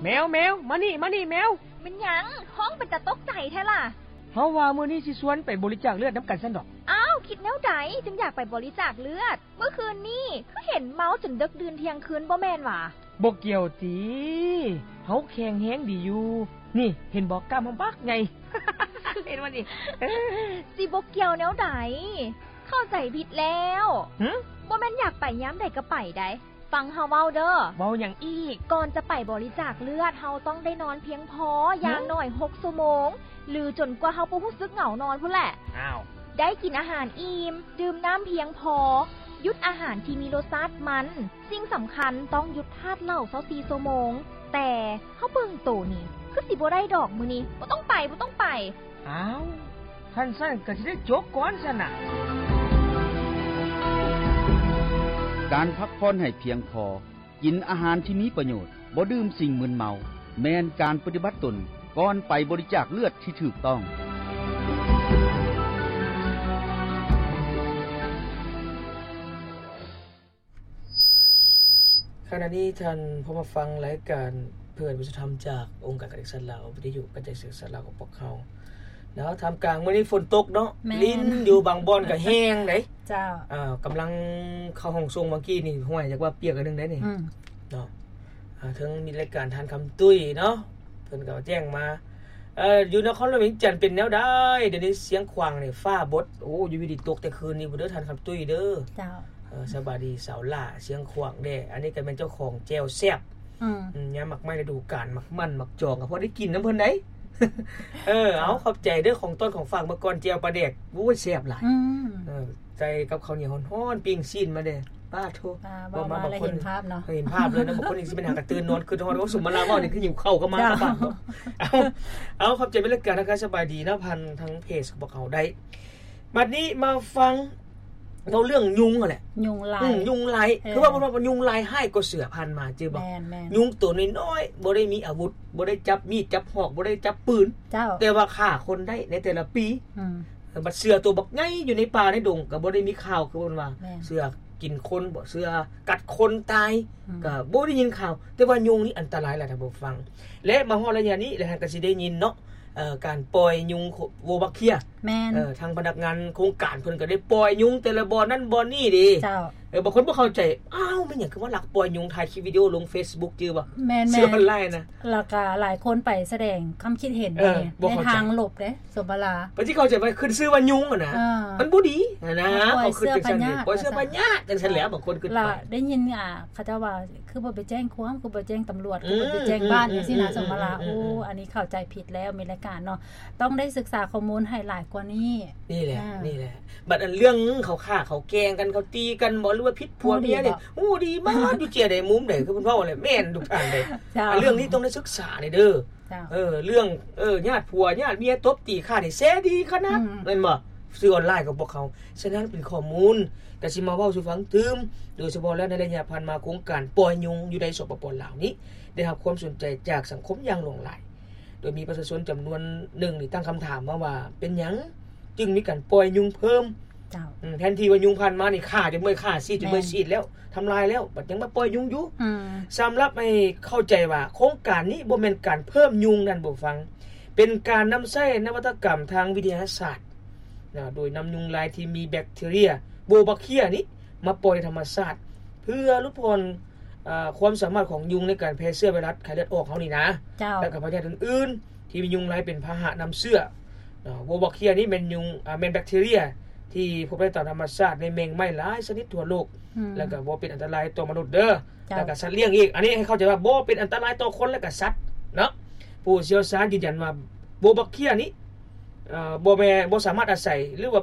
ແມວ ແມວ ມານີ້ ມານີ້ ແມວ. ແມ່ນຫຍັງ? ຮ້ອງເປັນຕາຕົກໃຈແທ້ລະ. ເຮົາວ່າມື້ນີ້ຊິຊວນໄປບໍລິຈາກເລືອດນຳກັນຊັ້ນດອກ. ອ້າວ ຄິດແນວໃດຈຶ່ງຢາກໄປບໍລິຈາກເລືອດ? ເມື່ອຄືນນີ້ຄືເຫັນເມົາຈົນເດິກດື່ນທ່ຽງຄືນບໍ່ແມ່ນຫວາ? ບໍ່ກ່ຽວຕິ ເຮົາແຂງແຮງດີຢູ່. ນີ້ ເຫັນບໍ່ ກ້າມເຮົາບັກໃຫຍ່. ເຫັນບໍ່ນີ້? ຊິບໍ່ກ່ຽວແນວໃດ? ເຂົ້າໃຈຜິດແລ້ວ. ຫຶ? ບໍ່ແມ່ນຢາກໄປຍາມໃດກໍໄປໃດ. ຟັງເຮົາເວົ້າເດີ້. ເວົ້າຫຍັງອີກ? ກ່ອນຈະໄປບໍລິຈາກເລືອດ ເຮົາຕ້ອງໄດ້ນອນພຽງພໍ ຫຶ? ຢ່າງໜ້ອຍຫົກຊົ່ວໂມງ ຫຼື ຈົນກວ່າເຮົາບໍ່ຮູ້ສຶກເຫງົານອນພຸ້ນແຫຼະ. ອ້າວ. ໄດ້ກິນອາຫານອີ່ມ, ດື່ມນ້ຳພຽງພໍ, ຢຸດອາຫານທີ່ມີລົດຊາດມັນ. ສິ່ງສຳຄັນຕ້ອງຢຸດທາດເຫຼົ້າຊາວສີ່ຊົ່ວໂມງ. ແຕ່ເຮົາເບິ່ງໂຕນີ້ ຄືຊິບໍ່ໄດ້ດອກມື້ນີ້. ບໍ່ຕ້ອງໄປ, ບໍ່ຕ້ອງໄປ. ອ້າວ ຄັນຊັ້ນກໍຊິໄດ້ຈົບກ່ອນຊັ້ນນະ. ການພັກຜ່ອນໃຫ້ພຽງພໍ, ກິນອາຫານທີ່ມີປະໂຫຍດ, ບໍ່ດື່ມສິ່ງມຶນເມົາ ແມ່ນການປະຕິບັດຕົນກ່ອນໄປບໍລິຈາກເລືອດທີ່ຖືກຕ້ອງ. ຂະນະນີ້ທ່ານພໍມາຟັງລາຍການເພື່ອນວິສາທຳຈາກອົງການການສຶກສາລາວ ວິທະຍຸກະຈາຍເສດສາລາວຂອງພວກເຮົາເນາະ. ທ່າມກາງມື້ນີ້ຝົນຕົກເນາະ, ແມ່ນ ລິນຢູ່ບາງບ່ອນກໍແຮງເດ້. ເຈົ້າ. ອ່າ ກຳລັງເຂົ້າຫ້ອງສົ່ງເມື່ອກີ້ນີ້ ຫ້ວຍ ຢາກວ່າປຽກອັນໜຶ່ງໄດ໋ນີ້. ອືມ. ເນາະ. ອ່າ ເຖິງມີລາຍການທ່ານຄຳຕຸ້ຍເນາະ ເພິ່ນກໍແຈ້ງມາ ເອີ ຢູ່ນະຄອນຫຼວງວຽງຈັນເປັນແນວໃດ? ດຽວນີ້ຊຽງຂວາງນີ້ຟ້າບົດ. ໂອ້ ຢູ່ດີຕົກແຕ່ຄືນນີ້ພຸ້ນເດີທ່ານຄຳຕຸ້ຍເດີ. ເຈົ້າ. ເອີ ສະບາຍດີສາວຫຼ້າ ຊຽງຂວາງເດ້. ອັນນີ້ກໍແມ່ນເຈົ້າຂອງແຈ່ວແຊບ. ອືມ. ອືມ ຍາມໝາກໄມ້ລະດູການ ໝາກມັນ ໝາກຈອງ ກໍພໍໄດ້ກິນນຳເພິ່ນໄດ໋. ເອີ ເຈົ້າ. ເອົາ ຂອບໃຈເດີ ຂອງຕ້ອນຂອງຝາກມື້ກ່ອນ ແຈ່ວປາແດກ. ໂອ້ຍ ແຊບຫຼາຍ. ອືມ. ເອີ ໃສ່ກັບເຂົ້າໜຽວຮ້ອນໆ ປີ້ງຊີ້ນມາເດ້. ປາໂທ ອ່າ ເວົ້າມາ ບາງຄົນເຫັນພາບເນາະ. ເອີ ເຫັນພາບເລີຍເນາະ. ບາງຄົນນີ້ຊິເປັນຫາກະຕື່ນນອນ ຄິດຮອດ ໂອ້ ສຸມມາລາເວົ້ານີ້ຄືຫິວເຂົ້າກໍມາ. ເຈົ້າ. ກັບບ້ານເນາະ. ເອົາ ເອົາ ຂອບໃຈເປັນລາຍການທາງການສະບາຍດີເນາະ ຜ່ານທາງເພຈຂອງພວກເຮົາໄດ້. ບັດນີ້ມາຟັງເວົ້າເລື່ອງຍຸງຫັ້ນແຫຼະ. ຍຸງລາຍ. ອືມ ຍຸງລາຍ. ເອີ ຄືວ່າເພິ່ນວ່າຍຸງລາຍຮ້າຍກວ່າເສືອ ຜ່ານມາຈື່ບໍ່? ແມ່ນໆ. ຍຸງໂຕນ້ອຍໆ ບໍ່ໄດ້ມີອາວຸດ ບໍ່ໄດ້ຈັບມີດຈັບຫອກ ບໍ່ໄດ້ຈັບປືນ. ເຈົ້າ. ແຕ່ວ່າຂ້າຄົນໄດ້ໃນແຕ່ລະປີ. ອືມ. ເອີ ບັດເສືອໂຕບັກໃຫຍ່ຢູ່ໃນປ່າໃນດົງ ກໍບໍ່ໄດ້ມີຂ່າວ ຄືເພິ່ນວ່າ ແມ່ນ ເສືອກິນຄົນບໍ ເສືອກັດຄົນຕາຍ ອືມ ກໍບໍ່ໄດ້ຍິນຂ່າວ. ແຕ່ວ່າຍຸງນີ້ອັນຕະລາຍຫຼາຍ ທ່ານຜູ້ຟັງ ແລະ ມາຮອດໄລຍະນີ້ ແລະ ທ່ານກໍຊິໄດ້ຍິນເນາະ ເອີ ການປ່ອຍຍຸງໂວບັກເຄຍ. ແມ່ນ. ເອີ ທາງພະນັກງານໂຄງການເພິ່ນກໍໄດ້ປ່ອຍຍຸງແຕ່ລະບ່ອນນັ້ນບ່ອນນີ້ເດ້. ເຈົ້າ. ເອີ ບາງຄົນບໍ່ເຂົ້າໃຈ ອ້າວ ແມ່ນຫຍັງຄືວ່າລັກປ່ອຍຍຸງ ຖ່າຍຄລິບວິດີໂອລົງເຟສບຸກ ຈື່ບໍ່? ແມ່ນໆ. ສື່ອອນລາຍນະ. ແລ້ວກໍຫຼາຍຄົນໄປສະແດງຄວາມຄິດເຫັນ ເອີ ໃນ ໃນທາງລົບເດ້. ສົມພະລາ ເພິ່ນຊິເຂົ້າໃຈວ່າຂຶ້ນຊື່ວ່າຍຸງຫັ້ນນະ ເອີ ມັນບໍ່ດີຫັ້ນນະ. ເຂົາຄິດຈັ່ງຊັ້ນເດ້ ປ່ອຍເຊື້ອພະຍາດ ປ່ອຍເຊື້ອພະຍາດຈັ່ງຊັ້ນແຫຼະ ບາງຄົນຄິດໄປ. ແລ້ວໄດ້ຍິນ ອ່າ ເຂົາເຈົ້າວ່າ ຄືບໍ່ໄປແຈ້ງຄວາມ ຄືບໍ່ແຈ້ງຕຳຫຼວດ ອືມ ຄືບໍ່ໄປແຈ້ງບ້ານ ອືມ ຈັ່ງຊີ້ນະ. ອືມ ສົມພະລາ ອືມ ໂອ້ ອືມ ອັນນີ້ເຂົ້າໃຈຜິດແລ້ວ ມີລາຍການເນາະ ຕ້ອງໄດ້ສຶກສາຂໍ້ມູນໃຫ້ຫຼາຍກວ່ານີ້. ນີ້ແຫຼະ ອ່າ ນີ້ແຫຼະ. ບັດອັນເລື່ອງເຂົາຂ້າເຂົາແກ່ງກັນ ເຂົາຕີກັນບໍ ຫຼືວ່າຜິດຜົວເມຍນີ້ ຮູ້ດີໝົດ ຢູ່ເຈ້ຍໃດມຸມໃດ ຄືເພິ່ນເວົ້າແຫຼະ ແມ່ນທຸກທ່ານເດ້. ເຈົ້າ. ອັນເລື່ອງນີ້ຕ້ອງໄດ້ສຶກສານີ້ເດີ. ເຈົ້າ. ເອີ ເລື່ອງ ເອີ ຍາດຜົວຍາດເມຍຕົບຕີຂ້ານີ້ແຊດີຂະໜາດ ອືມ ແມ່ນບໍ່? ສື່ອອນລາຍຂອງພວກເຮົາ. ສະນັ້ນເປັນຂໍ້ມູນ ກະຊິມາເວົ້າສູ່ຟັງຕື່ມ. ໂດຍສະເພາະແລ້ວໃນໄລຍະຜ່ານມາ ໂຄງການປ່ອຍຍຸງຢູ່ໃນ ສປປ ລາວນີ້ ໄດ້ຮັບຄວາມສົນໃຈຈາກສັງຄົມຢ່າງຫຼວງຫຼາຍ ໂດຍມີປະຊາຊົນຈຳນວນໜຶ່ງນີ້ຕັ້ງຄຳຖາມມາວ່າ ເປັນຫຍັງຈຶ່ງມີການປ່ອຍຍຸງເພີ່ມ? ເຈົ້າ. ອືມ ແທນທີ່ວ່າຍຸງຜ່ານມານີ້ຂ້າຈົນເມື່ອຍ ຂ້າຊີດຈົນເມື່ອຍ ແມ່ນ ຊີດແລ້ວ ທຳລາຍແລ້ວ ບັດຍັງມາປ່ອຍຍຸງຢູ່. ອືມ. ສຳລັບໃຫ້ເຂົ້າໃຈວ່າໂຄງການນີ້ບໍ່ແມ່ນການເພີ່ມຍຸງນັ້ນ ຜູ້ຟັງ ເປັນການນຳໃຊ້ນະວັດຕະກຳທາງວິທະຍາສາດນະ ໂດຍນຳຍຸງລາຍທີ່ມີແບັກທີເຣຍ ໂວບັກເຄຍນີ້ ມາປ່ອຍໃນທຳມະຊາດ ເພື່ອຫຼຸດຜ່ອນ ເອີ ຄວາມສາມາດຂອງຍຸງໃນການແຜ່ເຊື້ອໄວຣັສໄຂ້ເລືອດອອກເຮົານີ້ນະ. ເຈົ້າ. ແລ້ວກໍພະຍາດອື່ນໆ ທີ່ມີຍຸງລາຍເປັນພາຫະນຳເຊື້ອເນາະ. ໂວບັກເຄຍນີ້ແມ່ນຍຸງ ອາ ແມ່ນແບັກທີເຣຍທີ່ພົບໄດ້ຕາມທຳມະຊາດໃນແມງໄມ້ຫຼາຍຊະນິດທົ່ວໂລກ. ອືມ. ແລ້ວກໍບໍ່ເປັນອັນຕະລາຍຕໍ່ມະນຸດເດີ. ເຈົ້າ. ແລ້ວກໍສັດລ້ຽງອີກ. ອັນນີ້ໃຫ້ເຂົ້າໃຈວ່າບໍ່ເປັນອັນຕະລາຍຕໍ່ຄົນ ແລະ ກໍສັດເນາະ. ຜູ້ຊ່ຽວຊານຢືນຢັນວ່າໂວບັກເຄຍນີ້ ເອີ ບໍ່ແມ່ນ ບໍ່ສາມາດອາໄສ ຫຼືວ່າ